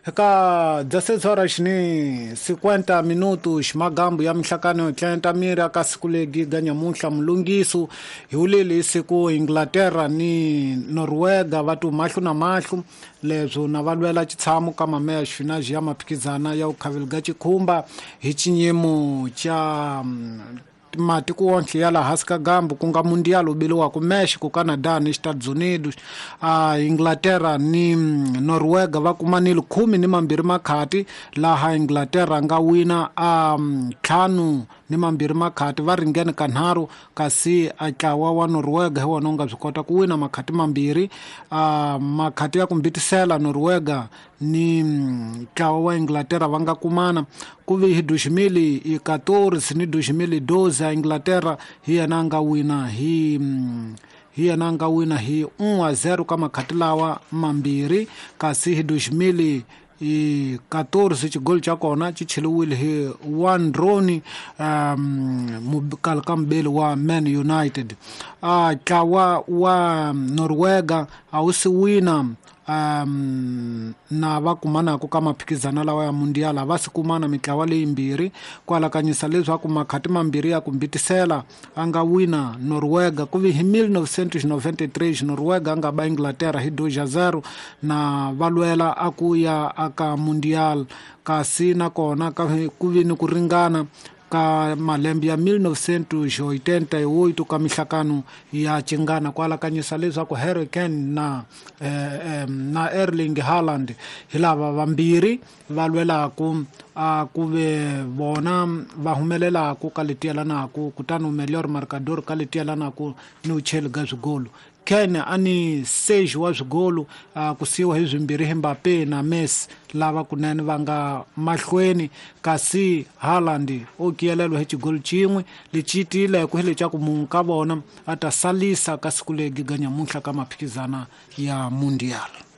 Eka 16 horas ni 50 minutos magambo ya mihlakano yo tlenta miri aka siku legi ga nyamuntlha mulungiso hi wuleli hi siku Inglaterra ni Norwega va tu mahlo na mahlo leswo na va lwela xitshamo ka mameya xifinaji ya maphikizana ya vukhaveli ga xikhumba hi xinyimo xa matiko wonke ya laha hansi ka gambu ku nga mundial wu biliwaka Mexico, Canada ni Estados Unidos. A Inglaterra ni Norwega va kumanile 12 makhati laha Inglaterra nga wina a 5-2 makhati va ringene kanharhu kasi a ntlawa wa Norwega hi wona wu nga swi kota ku wina makhati mambirhi. A makhati ya ku mbitisela Norwega ni ntlawa wa Inglaterra va nga kumana ku vi hi 2014 ni 2012 a Inglaterra hi yena a nga wina hi hi yena a nga wina hi 1-0 ka makhati lawa mambirhi kasi hi 2014 xigolo xa kona xi cheliwile hi Wayne Rooney mukala ka mubeli wa Man United. A ntlawa wa Norwega a wu si wina na va kumanaka ka maphikizana lawa ya mundial a va si kumana mitlawa leyimbirhi ku alakanyisa leswaku makhati mambirhi ya ku mbitisela a nga wina Norwega ku vi hi 1993 Norwega a nga ba Inglaterra hi 2-0 na va lwela a ku ya aka mundial kasi nakona ku vi ni ku ringana ka malembe ya 1988 ka mihlakano ya cingana ku alakanyisa leswaku Harry Kane na na Erling Haaland hi lava vambirhi va lwelaku a ku ve vona va humelelaku ka leti yelanaku kutani melhor marcador ka leti yelanaku ni ucheli ga swigolo. Kane a ni 6 wa swigolo ku siyiwa hi swimbirhi hi Mbappe na Messi lava kunene va nga mahlweni kasi Haaland o kiyelelwa hi xigolo xin'we lexi tiyileke hi lexa ku munhu ka vona a ta salisa ka siku legi ga nyamuntlha ka maphikizana ya mundial.